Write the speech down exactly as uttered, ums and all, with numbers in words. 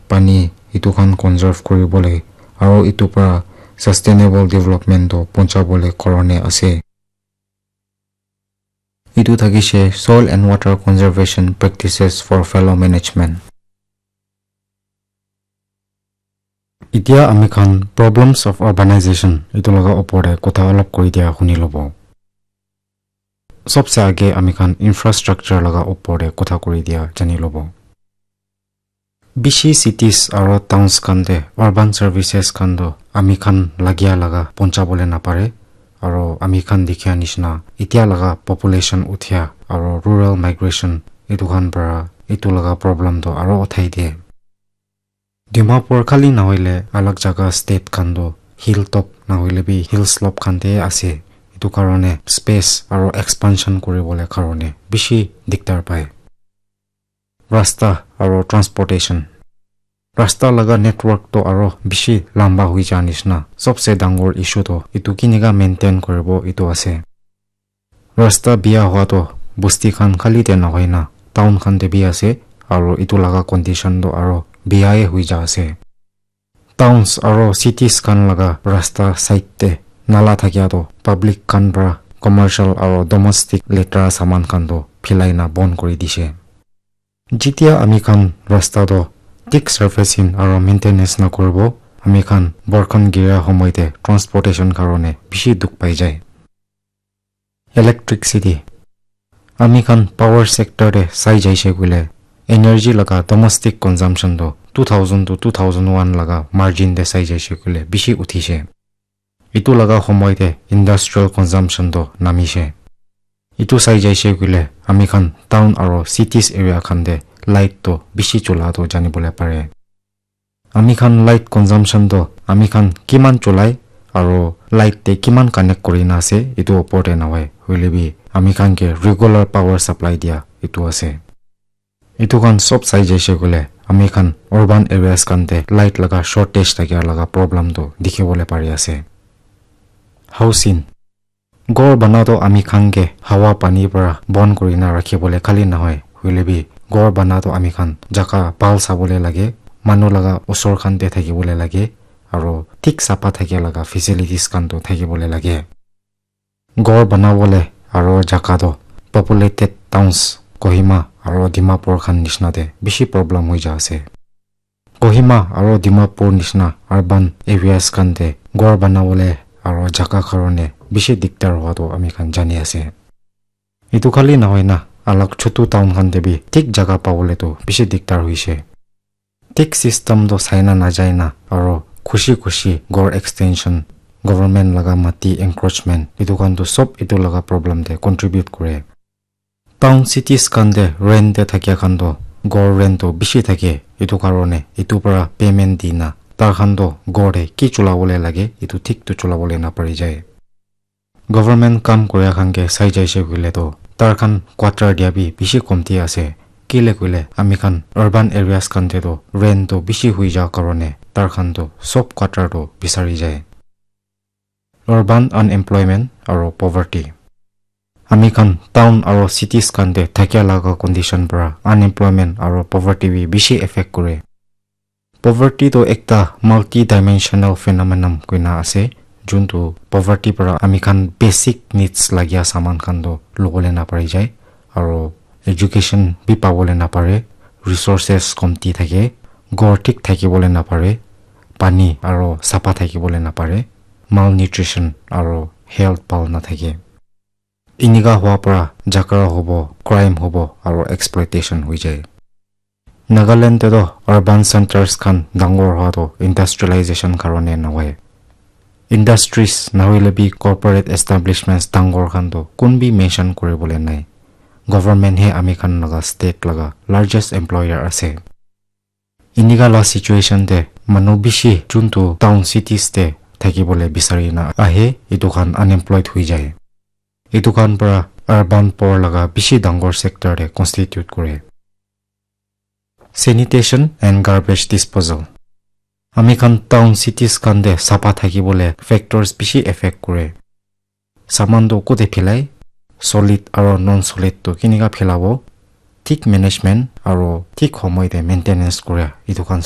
pani etu khan conserve kuribole aro etu para sustainable development toh ponchabole karone ase. Etu thakishe soil and water conservation practices for fallow management. Etia ami khan problems of urbanization etu laga opor te kotha olop kuri dia huni lobo. Sobse age ami khan infrastructure laga opor te kotha kuri dia jani lobo. Bishi cities aro towns khan te urban services khan toh ami khan lagia laga ponchabole napare, aro ami khan dikhia nishina etia laga population uthia aro rural migration etu khan para etu laga problem toh aro uthai diye. Dimapur khali nahoile alag jaga state khan toh hilltop nahoile bi hill slope khan te ase, etu karone space aro expansion kuribole karone bishi diktar pai. Rasta aro transportation. Rasta laga network toh aro bishi lamba hui ja nishina. Sobse dangor issue toh etu kinika maintain kuribo etu ase. Rasta bia hua toh bosti khan khali te nahoi na town khan te bi ase, aro etu laga condition toh aro bia e hui ja ase. Towns aro cities khan laga rasta side te nala thakia toh public khan para commercial aro domestic letra saman khan toh philai na bon kuri dishe. Jitia ami khan rasta toh thik surfacing aro maintenance nakuribo, ami khan borkhan giria homoi te transportation karone bishi dukh pai jai. Electricity. Ami khan power sector te sai jaise koile, energy laga domestic consumption toh two thousand to two thousand one laga margin te sai jaise koile bishi uthishe. Etu laga homoi te industrial consumption toh namishe. Etu sai jaise koile ami khan town aro cities area khan te light toh bishi chola toh janibole pare. Ami khan light consumption toh ami khan kiman cholai aro light te kiman connect kuri na ase etu opor te nahoi, hoile bi ami khan ke regular power supply dia etu ase. Etu khan sob sai jaise koile ami khan urban areas khan te light laga shortage thakia laga problem toh dikhi bole pari ase. Housing. Ghor bana toh ami khan ke hawa pani para bon kuri na rakhi bole khali nahoi, hoile bi ghor bana toh ami khan jaga bhal sabole lage, manu laga osor khan te thaki bole lage, aro thik sapha thakia laga facilities khan toh thaki bole lage. Ghor bana bole aro jaga toh populated towns Kohima aro Dimapur khan nishina te bishi problem hoi ja ase. Kohima aro Dimapur nishina urban areas khan te ghor bana bole aro jaga karone bishi diktar hua toh ami khan jani ase. Etu khali nahoi na alag chutu town khan te bi thik jaga pabole toh bishi diktar hoise. Thik system toh sai na najai na aro khushi khushi ghor extension, government laga mati encroachment etu khan toh sob etu laga problem te contribute kure. Town cities khan te rent te thakia khan toh ghor rent toh bishi thake, etu karone etu para payment di na tar khan toh ghor te ki chola bole lage etu thik toh chola bole na pari jai. Government kam kuria khan ke sai jaise koile toh tar khan quarter dia bi bishi komti ase. Kile koile ami khan urban areas khan te toh rent toh bishi hui ja karone tar khan toh sob quarter toh bisari jai. Urban unemployment aro poverty. Ami khan town aro cities khan te thakia laga condition para unemployment aro poverty bi bishi affect kure. Poverty toh ekta multidimensional phenomenon koina ase, juntu poverty para ami khan basic needs lagia saman khan toh lobole napari jai, aro education bi pabole napare, resources komti thake, ghor thik thakibole napare, pani aro sapha thakibole napare, malnutrition aro health bhal nathake. Inika hua para jhagara hobo, crime hobo, aro exploitation hoi jai. Nagaland te toh urban centers khan dangor hua toh industrialization karone nahoi. Industries nahoile bi corporate establishments dangor khan toh kun bi mention kuribole nai. Government he ami khan laga state laga largest employer ase. Inika la situation te manu bishi juntu town cities te thakibole bisari na ahe, etu khan unemployed hoi jai. Etu khan para urban poor laga bishi dangor sector te constitute kore. Sanitation and garbage disposal. Ami khan town cities khan te sapha thakibole factors bishi affect kore. Saman toh kote philai, solid aro non solid toh kinika philabo, thik management aro thik homoi te maintenance kura, etu khan